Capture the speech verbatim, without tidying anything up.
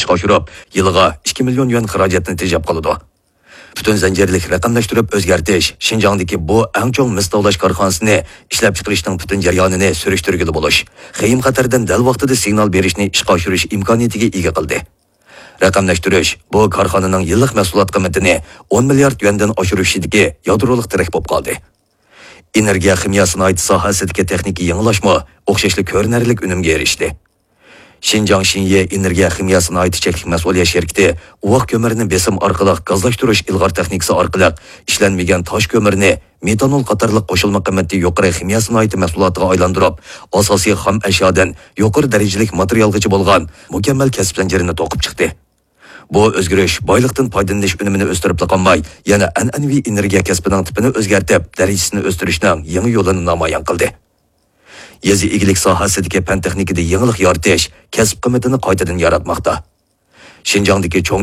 ئىشقا ئاشۇرۇپ، يىلىغا ئىككى مىليون يۈەن خىراجەتنى تېجەپ قالىدۇ. پۈتۈن زەنجىرلىك رەقەملەشتۈرۈپ ئۆزگەرتىش شىنجاڭدىكى بۇ ئەڭ چوڭ مىس تاۋلاش كارخانىسىنى ئىشلەپچىقىرىشنىڭ پۈتۈن جەريانىنى سۈرۈشتۈرگىلى بولۇش، خېيىم خەتەردىن دەل ۋاقتىدا سىگنال بېرىشنى ئىشقا ئاشۇرۇش ئىمكانىيىتىگە ئىگە قىلدى. رەقەملەشتۈرۈش بۇ كارخانىنىڭ يىللىق مەھسۇلات قىممىتىنى ئون مىليارد يۈەندىن ئاشۇرۇشىدىكى يادرولۇق تىرەك بولۇپ قالدى. ئېنېرگىيە خىمىيە سانائىتى ساھەسىدىكى تېخنىكىي يېڭىلاشمۇ ئوخشاشلا كۆرۈنەرلىك ئۈنۈمگە ئېرىشتى. شىنجاڭ شىنيې ئېنېرگىيە خىمىيە سانائىتى چەكلىك مەسئۇلىيەت شىركىتى ئۇۋاق كۆمۈرىنى بېسىم ئارقىلىق گازلاشتۇرۇش ئىلغار تېخنىكىسى ئارقىلىق ئىشلەنمىگەن تاش كۆمۈرىنى مېتانول قاتارلىق قوشۇلما قىممىتى يۇقىرى خىمىيە سانائىتى مەھسۇلاتىغا ئايلاندۇرۇپ، ئاساسىي خام ئەشيادىن يۇقىرى دەرىجىلىك ماتېرىيالغىچە بولغان مۇكەممەل كەسىپ زەنجىرىنى توقۇپ چىقتى. بۇ ئۆزگىرىش بايلىقتىن پايدىلىنىش ئۈنۈمىنى ئۆستۈرۈپلا قالماي، يەنە ئەنئەنىۋى ئېنېرگىيە كەسپىنىڭ تىپىنى ئۆزگەرتىپ، دەرىجىسىنى ئۆستۈرۈشنىڭ يېڭى يولىنى نامايان قىلدى. يېزا ئىگىلىك ساھەسىدىكى پەن تېخنىكىدا يېڭىلىق يارىتىش كەسىپ قىممىتىنى قايتىدىن ياراتماقتا. شىنجاڭدىكى چوڭ